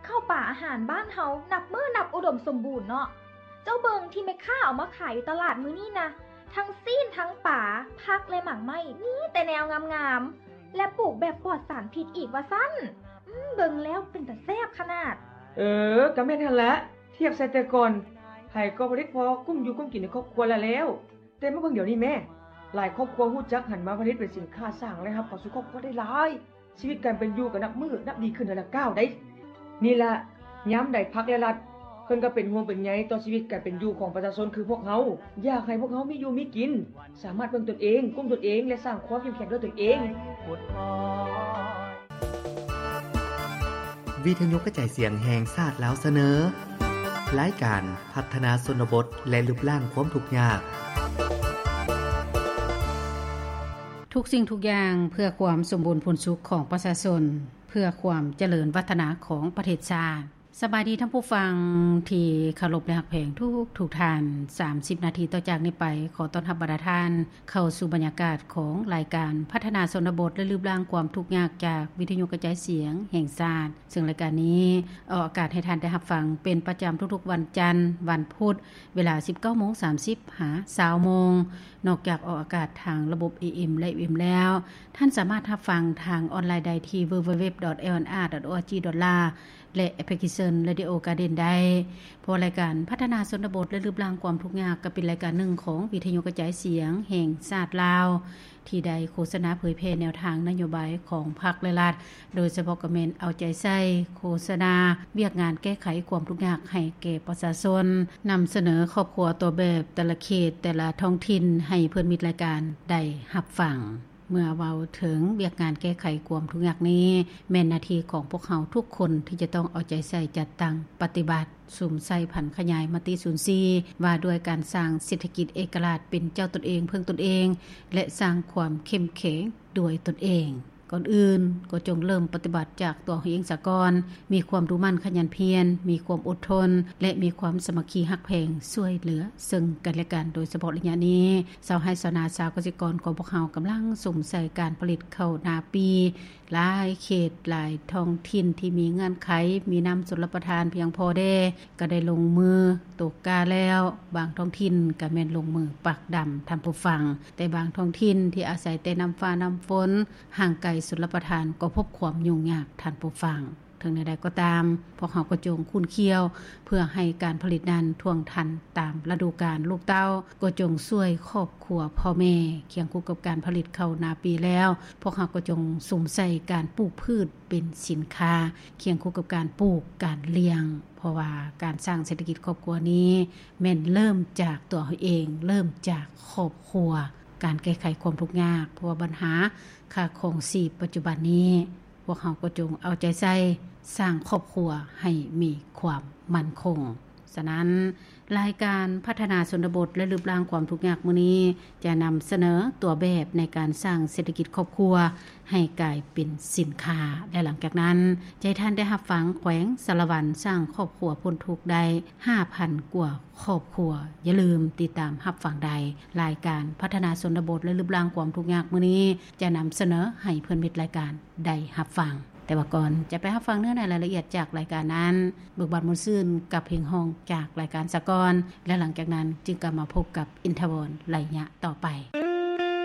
ເຂົ້າປາອາຫານບ້ານເຮົານັບມື້ນັບອຸດົມສົມບູນເນາະ. ເຈົ້າເບິ່ງທີ່ແມ່ຄ້າເອົາມາຂາຍຢູ່ຕະຫຼາດມື້ນີ້ນະ, ທັງຊີ້ນ ທັງປາ, ຜັກ ແລະ ໝາກໄມ້ ມີແຕ່ແນວງາມໆ ແລະ ປູກແບບປອດສານພິດອີກວ່າຊັ້ນ. ອືມ ເບິ່ງແລ້ວເປັນຕາແຊບຂະໜາດ. ເອີ ກໍແມ່ນຫັ້ນລະ, ທຽບໃສ່ແຕ່ກ່ອນ ໃຜກໍຜະລິດພໍກຸ້ມຢູ່ກຸ້ມກິນໃນຄອບຄົວລະແລ້ວ. ແຕ່ມາເບິ່ງດຽວນີ້ແມ້, ຫຼາຍຄອບຄົວຮູ້ຈັກຫັນມາຜະລິດເປັນສິນຄ້າສ້າງລາຍຮັບເຂົ້າສູ່ຄອບຄົວໄດ້ຫຼາຍ. ຊີວິດການເປັນຢູ່ກໍນັບມື້ນັບດີຂຶ້ນເທື່ອລະກ້າວໃດ໋. ນີ້ລະ ຍາມໃດພັກແລະລັດ ເພິ່ນກໍເປັນຫ່ວງເປັນໃຍຕໍ່ຊີວິດການເປັນຢູ່ຂອງປະຊາຊົນຄືພວກເຮົາ, ຢາກໃຫ້ພວກເຮົາມີຢູ່ມີກິນ, ສາມາດເບິ່ງຕົນເອງ, ກຸ້ມຕົນເອງ ແລະ ສ້າງຄວາມເຂັ້ມແຂງດ້ວຍຕົນເອງ. ວິທະຍຸກະຈາຍສຽງແຫ່ງຊາດລາວສະເໜີ ລາຍການພັດທະນາຊົນນະບົດ ແລະ ລຶບລ້າງຄວາມທຸກຍາກ. ທຸກສິ່ງທຸກຢ່າງເພື່ອຄວາມສົມບູນຜູນສຸກຂອງປະຊາຊົນ, ເພື່ອຄວາມຈະເລີນວັດທະນາຂອງປະເທດຊາດ. ສະບາຍດີທ່ານຜູ້ຟັງທີ່ເຄົາລົບ ແລະ ຮັກແພງທຸກໆທ່ານ. ສາມສິບນາທີຕໍ່ຈາກນີ້ໄປ, ຂໍຕ້ອນຮັບບັນດາທ່ານເຂົ້າສູ່ບັນຍາກາດຂອງລາຍການພັດທະນາຊົນນະບົດ ແລະ ລຶບລ້າງຄວາມທຸກຍາກ ຈາກວິທະຍຸກະຈາຍສຽງແຫ່ງຊາດ. ເຊິ່ງລາຍການນີ້ອອກອາກາດໃຫ້ທ່ານໄດ້ຮັບຟັງເປັນປະຈຳທຸກໆວັນຈັນ, ວັນພຸດ, ເວລາສິບເກົ້າໂມງສາມສິບຫາຊາວໂມງ. ນອກຈາກອອກອາກາດທາງລະບົບ ເອເອັມ ແລະ ເອຟເອັມ ແລ້ວ, ທ່ານສາມາດຮັບຟັງທາງອອນລາຍໄດ້ທີ່ www.lnr.org.la ແລະ ແອັບພລິເຄຊັນ Radio Garden ໄດ້. ເພາະລາຍການພັດທະນາຊົນນະບົດ ແລະ ລຶບລ້າງຄວາມທຸກຍາກ ກໍເປັນລາຍການໜຶ່ງຂອງວິທະຍຸກະຈາຍສຽງແຫ່ງຊາດລາວ ທີ່ໄດ້ໂຄສະນາເຜີຍແຜ່ແນວທາງນະໂຍບາຍຂອງພັກ ແລະ ລັດ, ໂດຍສະເພາະກໍແມ່ນເອົາໃຈໃສ່ໂຄສະນາວຽກງານແກ້ໄຂຄວາມທຸກຍາກໃຫ້ແກ່ປະຊາຊົນ, ນຳສະເໜີຄອບຄົວຕົວແບບແຕ່ລະເຂດ, ແຕ່ລະທ້ອງຖິ່ນ ໃຫ້ເພື່ອນມິດລາຍການໄດ້ຮັບຟັງ. ເມື່ອເວົ້າເຖິງວຽກງານແກ້ໄຂຄວາມທຸກຍາກນີ້, ແມ່ນໜ້າທີ່ຂອງພວກເຮົາທຸກຄົນທີ່ຈະຕ້ອງເອົາໃຈໃສ່ຈັດຕັ້ງປະຕິບັດ, ສຸມໃສ່ຜັນຂະຫຍາຍມະຕິສູນສີ່ ວ່າດ້ວຍການສ້າງເສດຖະກິດເອກະລາດເປັນເຈົ້າຕົນເອງ, ເພິ່ງຕົນເອງ ແລະ ສ້າງຄວາມເຂັ້ມແຂງດ້ວຍຕົນເອງ. ກ່ອນອື່ນກໍຈົ່ງເລີ່ມປະຕິບັດຈາກຕົວເຮົາເອງສາກ່ອນ, ມີຄວາມດຸໝັ່ນຂະຫຍັນພຽນ, ມີຄວາມອົດທົນ ແລະ ມີຄວາມສາມັກຄີຮັກແພງຊ່ວຍເຫຼືອເຊິ່ງກັນແລະກັນ. ໂດຍສະເພາະໄລຍະນີ້, ຊາວໄຮ່ຊາວນາ, ຊາວກະສິກອນຂອງພວກເຮົາກຳລັງສຸມໃສ່ການຜະລິດເຂົ້ານາປີ. ຫຼາຍເຂດ, ຫຼາຍທ້ອງຖິ່ນທີ່ມີເງື່ອນໄຂ, ມີນ້ຳຊົນລະປະທານພຽງພໍແດ່, ກໍໄດ້ລົງມືຕົກກ້າແລ້ວ. ບາງທ້ອງຖິ່ນກໍແມ່ນລົງມືປາກດຳ, ທ່ານຜູ້ຟັງ. ແຕ່ບາງທ້ອງຖິ່ນທີ່ອາໄສແຕ່ນ້ຳຟ້ານ້ຳຝົນ, ຫ່າງໄກຊົນລະປະທານ, ກໍພົບຄວາມຫຍຸ້ງຍາກ, ທ່ານຜູ້ຟັງ. ເຖິງແນວໃດກໍຕາມ, ພວກເຮົາກໍຈົ່ງຂຸ້ນຂ້ຽວ ເພື່ອໃຫ້ການຜະລິດນັ້ນທ່ວງທັນຕາມລະດູການ. ລູກເຕົ້າກໍຈົ່ງຊ່ວຍຄອບຄົວພໍ່ແມ່. ຄຽງຄູ່ກັບການຜະລິດເຂົ້ານາປີແລ້ວ, ພວກເຮົາກໍຈົ່ງສຸມໃສ່ການປູກພືດເປັນສິນຄ້າ, ຄຽງຄູ່ກັບການປູກ, ການລ້ຽງ. ເພາະວ່າການສ້າງເສດຖະກິດຄອບຄົວນີ້ ແມ່ນເລີ່ມຈາກຕົວເຮົາເອງ, ເລີ່ມຈາກຄອບຄົວ. ການແກ້ໄຂຄວາມທຸກຍາກ, ເພາະວ່າບັນຫາຄ່າຄອງຊີບປັດຈຸບັນນີ້, ພວກເຮົາກໍຈົ່ງເອົາໃຈໃສ່ສ້າງຄອບຄົວໃຫ້ມີຄວາມໝັ້ນຄົງ. ສະນັ້ນ, ລາຍການພັດທະນາຊົນນະບົດ ແລະ ລຶບລ້າງຄວາມທຸກຍາກມື້ນີ້ ຈະນຳສະເໜີຕົວແບບໃນການສ້າງເສດຖະກິດຄອບຄົວໃຫ້ກາຍເປັນສິນຄ້າ. ແລະ ຫຼັງຈາກນັ້ນ, ຈະໃຫ້ທ່ານໄດ້ຮັບຟັງແຂວງສາລະວັນສ້າງຄອບຄົວພົ້ນທຸກໄດ້ຫ້າພັນກວ່າຄອບຄົວ. ຢ່າລືມຕິດຕາມຮັບຟັງໄດ້. ລາຍການພັດທະນາຊົນນະບົດ ແລະ ລຶບລ້າງຄວາມທຸກຍາກມື້ນີ້ ຈະນຳສະເໜີໃຫ້ເພື່ອນມິດລາຍການໄດ້ຮັບຟັງ. ແຕ່ວ່າກ່ອນຈະໄປຮັບຟັງເນື້ອໃນລາຍລະອຽດຈາກລາຍການນັ້ນ, ເບີກບານມ່ວນຊື່ນກັບເພງຮ້ອງຈາກລາຍການສາກ່ອນ, ແລະ ຫຼັງຈາກນັ້ນຈຶ່ງກັບມາພົບກັບອິນທະວອນໄລຍະຕໍ່ໄປ.